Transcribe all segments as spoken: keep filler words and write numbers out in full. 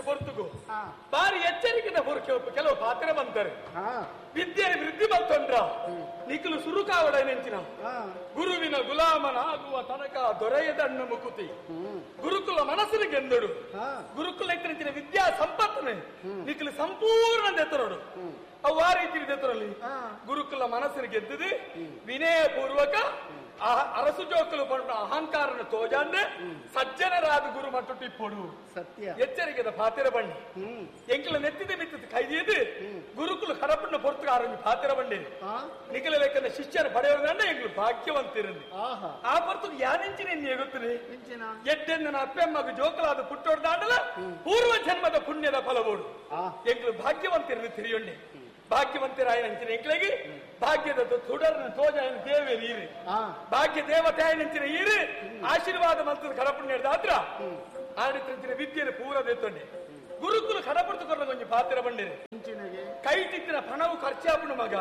ಪೊರ್ತುಗು ಬಾರಿ ಎಚ್ಚರಿಕೆದ ಪೊರ್ಕೆ ಕೆಲವು ಪಾತ್ರ ಬಂತಾರೆ ವಿದ್ಯೆ ವೃದ್ಧಿ ಬಂತೊಂಡ್ರ ನಿಖಲು ಸುರುಕಾವಡ ನೆಂಚಿನ ಗುರುವಿನ ಗುಲಾಮನಾಗುವ ತನಕ ದೊರೆಯದಣ್ಣ ಮುಕುತಿ ಗುರುಕುಲ ಮನಸ್ಸಿನ ಗೆಂದಡು ಗುರುಕುಲ ಇತ್ತಿನ ವಿದ್ಯಾ ಸಂಪತ್ತನೆ ನಿಖಲು ಸಂಪೂರ್ಣ ದೆತ್ತರೋಡು ಅವು ಆ ರೀತಿ ದೆತ್ತರಲ್ಲಿ ಗುರುಕುಲ ಮನಸ್ಸಿನ ಗೆದ್ದದು ವಿನಯ ಪೂರ್ವಕ ಅರಸು ಜೋಕಲು ಪಂಡ ಅಹಂಕಾರನ ತೋಜಾಂಡೆ ಸಜ್ಜನರಾದ ಗುರು ಮಟ್ಟು ಟಿಪ್ಪೊಡು ಸತ್ಯ ಎಚ್ಚರಿಕೆದ ಪಾತಿರ ಬಣ್ಣಿ ಎಂಕಲ ನೆತ್ತಿದ ಮಿತ್ತದ ಕೈದಿಯದು ಗುರುಕುಲು ಕರಪಣ್ಣ ಪೊರ್ತುಗಾರೊಂಜಿ ಪಾತಿರ ಬಂಡಿ ನಿಖಲ ಲೆಕ್ಕನ ಶಿಷ್ಯನ ಪಡೆಯೋದಂಡ ಎಂಕಲು ಭಾಗ್ಯವಂತಿರಂದಿ ಆ ಪೊರ್ತು ಯಾನೆಂಚಿನ ಎಗುತ್ತದೆ ಎಡ್ಡೆಂದನ ಅಪ್ಪೆಮ್ಮಗ ಜೋಕಲಾದ ಪುಟ್ಟೋಡ್ದಾಂಡಲ ಪೂರ್ವ ಜನ್ಮದ ಪುಣ್ಯದ ಫಲಬೋಡು ಎಂಕಲು ಭಾಗ್ಯವಂತಿರಂದು ತಿಳಿಯೊಂಡೆ ಭಾಗ್ಯವಂತರಾಯನಂಚಿನ ಎಂಕ್ಲೆಗೆ ಭಾಗ್ಯದ ತುಡರ್ನ ತೋಜಾಯನ ದೇವೇರಿ ಈರು ಭಾಗ್ಯ ದೇವತೆ ಆಯನಂಚಿನ ಈರು ಆಶೀರ್ವಾದ ಮಂತ್ರದ ಕಡಪುಣ್ಯ ದಾತ್ರ ಆಡಿತ್ತಿನ ವಿದ್ಯೆಯನ್ನು ಪೂರ ದೇತೊಂಡೆ ಗುರುಕುಲು ಕಡಪಡ್ತುಕೊಂಡ ಕೊಂಚ ಪಾತ್ರ ಬಂಡಿರಿ ಕೈ ತಿತ್ತಿನ ಪಣವು ಖರ್ಚಾಪಣ ಮಗ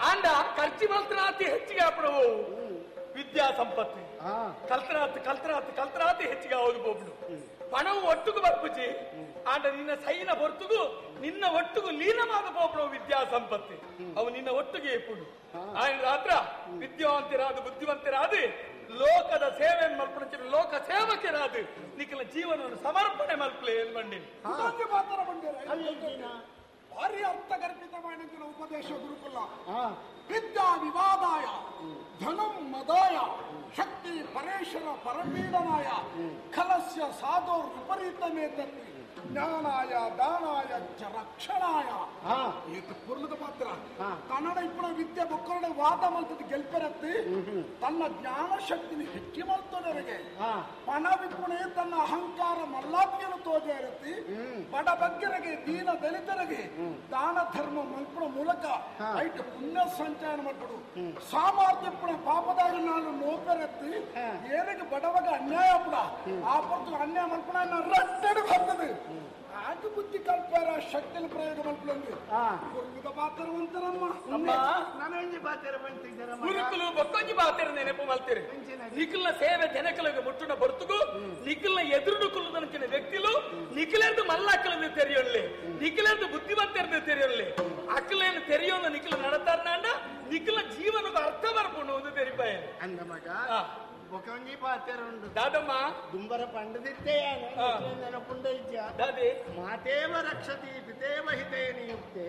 ಆಂಡ ಖರ್ಚು ಮಲ್ತನಾತಿ ಹೆಚ್ಚಿಗೆ ಆಪಣವು ವಿದ್ಯಾ ಸಂಪತ್ತಿ ಕಲ್ತನಾತ್ ಕಲ್ತನಾತ್ ಕಲ್ತನಾತಿ ಹೆಚ್ಚಿಗೆ ಹೌದು ಬೋಬ್ಡು ಪಣವು ಒಟ್ಟುಗು ಬರ್ಪುಜಿ ಆಂಡ ನಿನ್ನ ಸೈನ ಹೊರತುಗು ನಿನ್ನ ಒಟ್ಟುಗು ಲೀನವಾದ ಪೋಪಣವು ವಿದ್ಯಾ ಸಂಪತ್ತಿ ಅವು ನಿನ್ನ ಒಟ್ಟಿಗೆ ಇಪ್ಪುಡು ఆయన ರಾತ್ರ ವಿದ್ಯಾವಂತರಾದ ಬುದ್ಧಿವಂತರಾದ ಲೋಕದ ಸೇವೆ ಮಲ್ಪಣ ಲೋಕ ಸೇವಕರಾದ ನಿಖಲ ಜೀವನವನ್ನು ಸಮರ್ಪಣೆ ಮಲ್ಪಲೆ ಏನ್ ಬಂಡಿ ಭಾರಿ ಅರ್ಥಗರ್ಭಿತವಾದ ಉಪದೇಶ ಗುರುಕುಲ ವಿದ್ಯಾ ವಿವಾದಾಯ ಧನಂ ಮದಾಯ ಶಕ್ತಿ ಪರೇಶರ ಪರಪೀಡನಾಯ ಖಲಸ್ಯ ಸಾಧೋ ವಿಪರೀತಮೇತತ್ತಿ ಜ್ಞಾನಾಯ ದಾನಾಯ ಚ ರಕ್ಷಣಾಯ ಏತ ಪುರ್ಲದ ಪಾತ್ರ ಕನ್ನಡ ಇಪ್ಪಣ ವಿದ್ಯೆ ಬೊಕ್ಕರಡೆ ವಾದ ಮಲ್ತದ ಗೆಲ್ಪೆರತ್ತಿ ತನ್ನ ಜ್ಞಾನ ಶಕ್ತಿನ ಹೆಚ್ಚಿ ಮಲ್ತದವರಿಗೆ ಪಣ ವಿಪುಣೆ ತನ್ನ ಅಹಂಕಾರ ಮಲ್ಲಾತಿಯನ್ನು ತೋಜೆ ಇರತ್ತಿ ಬಡ ಬಗ್ಗರಿಗೆ ದೀನ ದಲಿತರಿಗೆ ದಾನ ಧರ್ಮ ಮಲ್ಪಣ ಮೂಲಕ ಐಟ್ ಪುಣ್ಯ ಸಂಚಯನ ಮಾಡ್ಬಿಡು ಸಾಮರ್ಥ್ಯ ಪಾಪದಾಗ ನಾನು ನೋಪೆರತ್ತಿ ಏನಿಗೆ ಬಡವಾಗ ಅನ್ಯಾಯ ಬಿಡ ಆ ಪೊರ್ತು ಅನ್ಯಾಯ ಮಲ್ಪಣ ರಟ್ಟೆಡು ಬರ್ತದೆ ಆಗ ಬುದ್ಧಿ ಕಲ್ಪಾರ ಶಕ್ತಿನ ಪ್ರಯೋಗ ಮಲ್ಪಲಂದು ಗುರುಕುಲ ಪಾತ್ರವಂತರಮ್ಮ ಗುರುಕುಲು ಬೊಕ್ಕೊಂಜಿ ಪಾತ್ರ ನೆನಪು ಮಲ್ತೀರಿ ನಿಖಲ್ನ ಸೇವೆ ಜನಕಲಿಗೆ ಮುಟ್ಟುನ ಬರ್ತುಗು ನಿಖಲ್ನ ಎದುರು ಕುಲ್ಲುದನಂಚಿನ ವ್ಯಕ್ತಿಲು ನಿಖಲೆಂದು ಮಲ್ಲಾಕಲಂದು ತೆರೆಯೊಳ್ಳಿ ನಿಖಲೆಂದು ಬುದ್ಧಿವಂತರದು ತೆರೆಯೊಳ್ಳಿ ಅಕ್ಕಲೇನು ತೆರೆಯೋದು ನಿಖಲ ನಡತಾರ್ನಾಂಡ ನಿಖಲ ಜೀವನದ ಅರ್ಥ ಬರ್ಕೊಂಡು ಒಂದು ತೆರಿಪಾಯ ಅಂದ ಮಗ ಬೊಕೊಂಜಿ ಪಾತ್ರ ಉಂಡು ದಾದಮ್ಮ ದುಂಬರ ಪಂಡದಿತ್ತೇ ನೆನಪುಂಡ ಇಜ್ಜ ದಾದಿ ಮಾತೇವ ರಕ್ಷತಿ ಪಿತೇವ ಹಿತೇ ನಿಯುಕ್ತೆ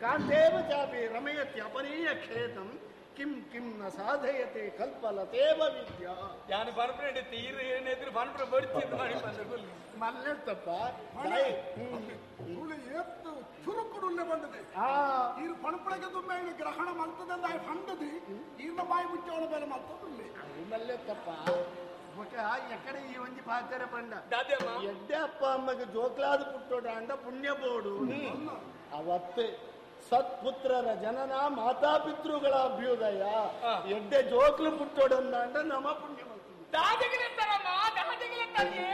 ಕಾಂತೇವ ಚಾಪಿ ರಮಯತಿ ಅಪನೀಯ ಕ್ಷೇತಂ ಕಿಂ ಕಿಂ ನ ಸಾಧಯತೆ ಕಲ್ಪಲತೇವ ವಿದ್ಯಾ ಯಾನು ಪನ್ಪುನ ತೀರು ಏನೆದ್ರು ಪನ್ಪುನ ಬಡಿಚಿದ್ದು ಮಾಡಿ ಬಂದ ಮಲ್ಲೆತ್ತಪ್ಪ ಏತ್ತು ಚುರುಕುಡುಲ್ಲೆ ಬಂದದೆ ಈರು ಪಣಪುಳಗೆ ತುಂಬೆ ಗ್ರಹಣ ಮಲ್ತದಂದ ಫಂಡದಿ ಈರ್ನ ಬಾಯಿ ಮುಚ್ಚೋಳ ಮೇಲೆ ಮಲ್ತದುಲ್ಲೆ ಮಲ್ಲೆತ್ತಪ್ಪ ಬೊಕ ಎಕಡೆ ಈ ಒಂಜಿ ಪಾತ್ರ ಪಂಡ ದಾದಮ್ಮ ಎಡ್ಡೆ ಅಪ್ಪ ಅಮ್ಮಗೆ ಜೋಕ್ಲಾದ ಪುಟ್ಟೋಡ ಅಂಡ ಪುಣ್ಯ ಬೋಡು ಅವತ್ತೆ ಸತ್ಪುತ್ರರ ಜನನ ಮಾತಾಪಿತೃಗಳ ಅಭ್ಯುದಯ ಎಡ್ಡೆ ಜೋಕ್ಲು ಪುಟ್ಟೋಡಂದ ನಮ ಪುಣ್ಯ ದಾದಿಗಿಲೆತ್ತಾರಮ್ಮ ದಾದಿಗಿಲೆತ್ತಾನೆ